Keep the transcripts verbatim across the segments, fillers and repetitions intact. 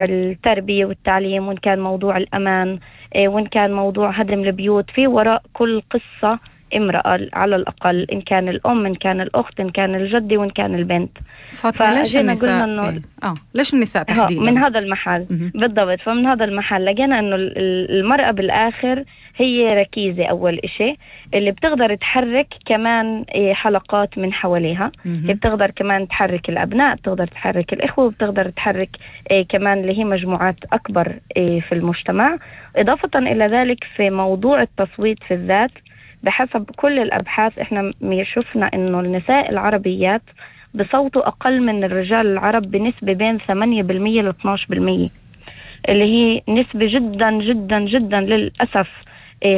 التربية والتعليم، وإن كان موضوع الأمان، وإن كان موضوع هدم البيوت. في وراء كل قصة امرأة على الأقل، إن كان الأم، إن كان الأخت، إن كان الجدي، وإن كان البنت. فاطمة، ليش النساء إنه آه ليش النساء تحديدا؟ من هذا المحل م- بالضبط. فمن هذا المحل لقينا إنه المرأة بالآخر هي ركيزة أول إشي، اللي بتقدر تحرك كمان حلقات من حواليها. هي بتقدر كمان تحرك الأبناء، بتقدر تحرك الإخوة، بتقدر تحرك كمان اللي هي مجموعات أكبر في المجتمع. إضافة إلى ذلك في موضوع التصويت في الذات، بحسب كل الأبحاث إحنا شفنا إنه النساء العربيات بصوتوا أقل من الرجال العرب بنسبة بين ثمانية بالمية ل اثني عشر بالمية، اللي هي نسبة جدا جدا جدا للأسف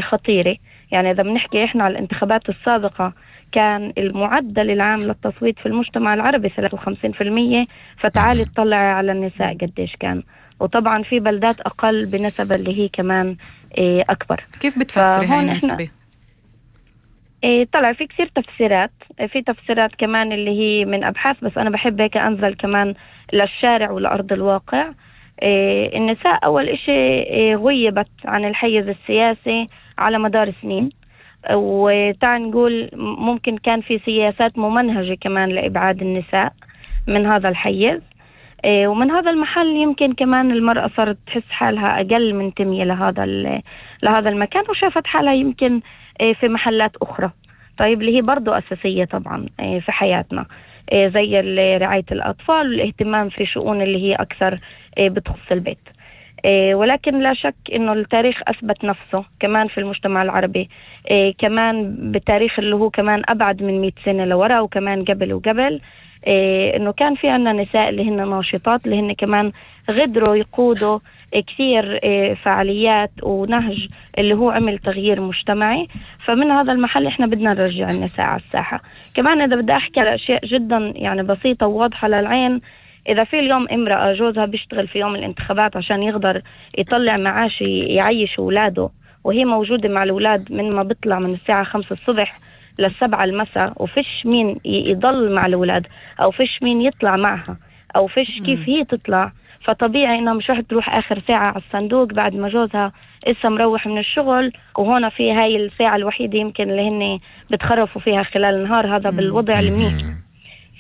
خطيرة. يعني إذا بنحكي إحنا على الانتخابات السابقة كان المعدل العام للتصويت في المجتمع العربي ثلاثة وخمسين بالمية، فتعالي تطلع على النساء قديش كان. وطبعا في بلدات أقل بنسبة اللي هي كمان أكبر. كيف بتفسري هاي النسبة؟ إيه طلع في كثير تفسيرات، في تفسيرات كمان اللي هي من أبحاث، بس أنا بحب هيك أنزل كمان للشارع ولأرض الواقع. إيه النساء أول إشي إيه غيبت عن الحيز السياسي على مدار سنين، وتعال نقول ممكن كان في سياسات ممنهجة كمان لإبعاد النساء من هذا الحيز. إيه ومن هذا المحل يمكن كمان المرأة صارت تحس حالها أقل منتمية لهذا لهذا المكان، وشافت حالها يمكن في محلات أخرى، طيب اللي هي برضو أساسية طبعا في حياتنا، زي رعاية الأطفال والاهتمام في شؤون اللي هي أكثر بتخص البيت. ولكن لا شك إنه التاريخ أثبت نفسه كمان في المجتمع العربي، كمان بالتاريخ اللي هو كمان أبعد من مئة سنة لورا، وكمان قبل وقبل، إنه كان في عنا نساء اللي هن ناشطات، اللي هن كمان غدروا يقودوا كثير فعاليات ونهج اللي هو عمل تغيير مجتمعي. فمن هذا المحل احنا بدنا نرجع النساء على الساحة. كمان إذا بدي أحكي على أشياء جدا يعني بسيطة وواضحة للعين، إذا في اليوم امرأة جوزها بيشتغل في يوم الانتخابات عشان يقدر يطلع معاش يعيش أولاده، وهي موجودة مع الأولاد من ما بيطلع من الساعة خمسة الصبح للسبعة المساء، وفيش مين يضل مع الأولاد، أو فيش مين يطلع معها، أو فيش كيف هي تطلع، فطبيعي إنها مش راح تروح آخر ساعة على الصندوق بعد ما جوزها إسا مروح من الشغل، وهنا في هاي الساعة الوحيدة يمكن اللي هن بتخرفوا فيها خلال النهار، هذا بالوضع المنيح.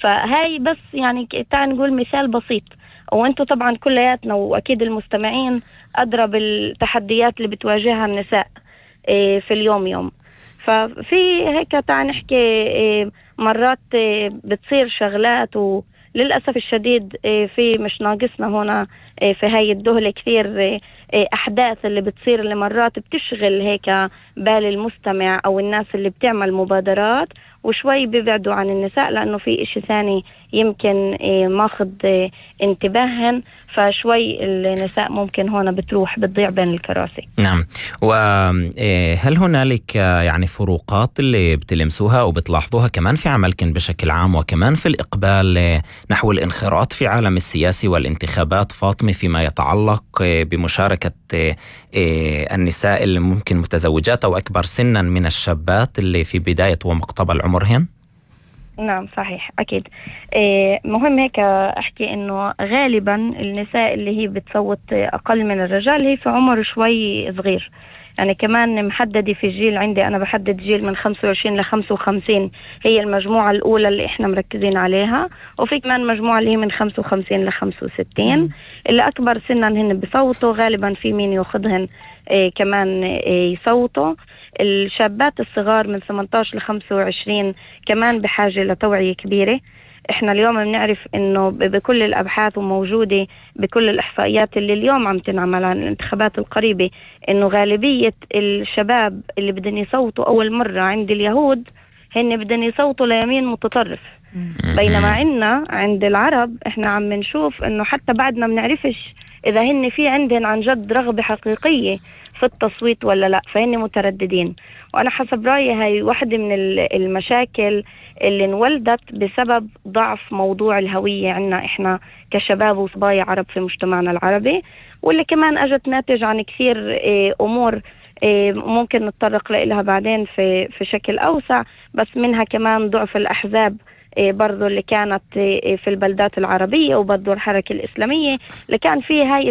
فهاي بس يعني تعال نقول مثال بسيط، وانتو طبعا كلياتنا وأكيد المستمعين أدرى بالتحديات اللي بتواجهها النساء في اليوم يوم. ففي هيك تعال نحكي مرات بتصير شغلات، وللأسف الشديد في مش ناقصنا هنا في هاي الدهلة كثير أحداث اللي بتصير اللي مرات بتشغل هيك بال المستمع أو الناس اللي بتعمل مبادرات، وشوي بيبعدوا عن النساء لأنه في إشي ثاني يمكن ماخذ انتباههن، فشوي النساء ممكن هنا بتروح بتضيع بين الكراسي. نعم. وهل هنالك يعني فروقات اللي بتلمسوها وبتلاحظوها كمان في عملكن بشكل عام، وكمان في الإقبال نحو الانخراط في عالم السياسي والانتخابات فاطمة، فيما يتعلق بمشاركة النساء اللي ممكن متزوجات أو أكبر سنا من الشابات اللي في بداية ومقتبل عمرهن؟ نعم صحيح أكيد. مهم هيك أحكي إنه غالبا النساء اللي هي بتصوت أقل من الرجال هي في عمر شوي صغير، يعني كمان محددة في جيل عندي أنا بحدد جيل من خمسة وعشرين ل خمسة وخمسين، هي المجموعة الأولى اللي إحنا مركزين عليها، وفي كمان مجموعة اللي هي من خمسة وخمسين ل خمسة وستين اللي أكبر سنا هن بصوتوا، غالبا في مين يأخذهن إيه كمان إيه يصوتوا. الشابات الصغار من ثمانية عشر ل خمسة وعشرين كمان بحاجة لتوعية كبيرة. احنا اليوم بنعرف انه بكل الابحاث وموجودة بكل الاحصائيات اللي اليوم عم تنعمل عن الانتخابات القريبة، انه غالبية الشباب اللي بدهم يصوتوا اول مرة عند اليهود هن بدهم يصوتوا ليمين متطرف، بينما عنا عند العرب احنا عم نشوف انه حتى بعد ما بنعرفش اذا هن في عندهم عن جد رغبة حقيقية في التصويت ولا لا، فهن مترددين. وانا حسب رأيي هاي واحدة من المشاكل اللي انولدت بسبب ضعف موضوع الهوية عنا احنا كشباب وصبايا عرب في مجتمعنا العربي، واللي كمان اجت ناتج عن كثير امور ممكن نتطرق لها بعدين في في شكل اوسع، بس منها كمان ضعف الاحزاب برضو اللي كانت في البلدات العربية، وبرضو الحركة الإسلامية اللي كان فيه هاي